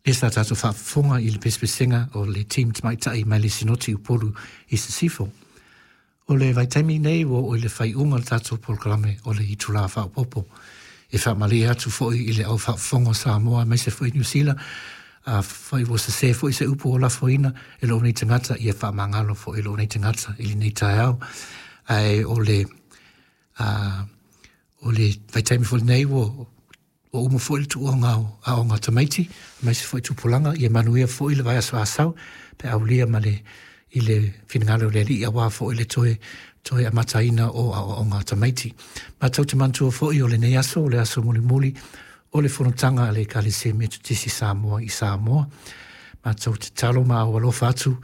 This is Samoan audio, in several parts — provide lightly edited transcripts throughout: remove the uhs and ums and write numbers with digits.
Lea sa tatou faafofoga i le pesepesega o le team tamaitai mai le Sinoti Upolu i Sisifo. O le vaitaimi nei ua oo i le faaiuga o le tatou polokalame o le itula faaopoopo. E faamalie atu foi i le au faafofoga o Samoa aemaise foi Niu Sila, afai ua sese foi se upu ua lafoina e lou nei tagata, ia faamagalo foi lou nei tagata i lenei taeao. Ae o le, o le vaitaimi foi lenei ua Ua uma foi le tuuga o aoga a tamaiti, aemaise foi tupulaga, ia manuia foi le vaiaso Asau, pe aulia ma le, i le finagalo o le Alii aua foi le toe, toe amataina o aoaoga a tamaiti. Matou te manatua foi o lenei aso, o le aso mulimuli o le fonotaga a le Ekalesia Metotisi Samoa i Samoa. Matou te tatalo ma aualofa atu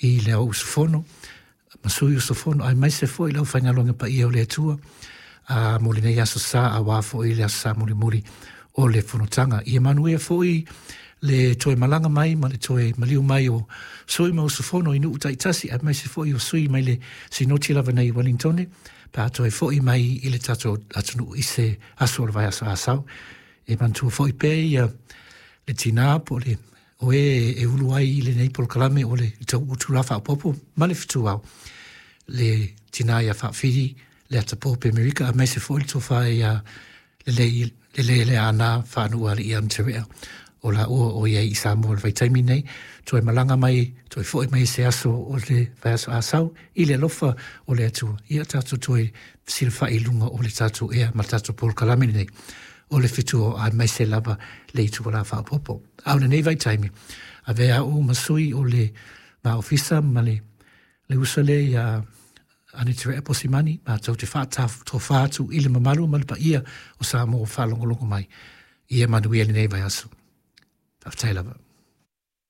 i le au usufono, ma sui usufono aemaise foi le aufaigaluega paia o le Atua a mo lenei aso sa aua foi le aso sa mulimuli o le fonotaga. Ia manuia foi le toe malaga mai ma le toe maliu mai o sui ma usufono i nuu taitasi aemaise foi o sui mai le sinoti lava nei i Wellingtone pe a toe foi mai i le tatou atunuu i se aso o le vaiaso Asau. E manatua foi pea ia le tinā po o le o e e ulu ai i lenei polokalame o le itula faaopoopo ma le fetuao, le tinā ia Faafili le Atapo Amerika, aemaise foi le tofa ia Lelei le Leaana Faanuualii Ana o la ua o iai i Samoa i le vaitaimi nei, toe malaga mai, toe foi mai se aso o le vaiaso Asau i le alofa o le Atua. Ia tatou toe fesilafai i luga o le tatou ea ma le tatou polokalame lenei o le fetu aemaise lava le itula faaopoopo. A o lenei vaitaimi, avea au ma sui o le ma ofisa ma le le uso lea ia Anita Posimani, matou te faatofa atu i le mamalu ma le paia o Samoa o faalogologo mai. Ia manuia lenei vaiaso. Faafetai lava.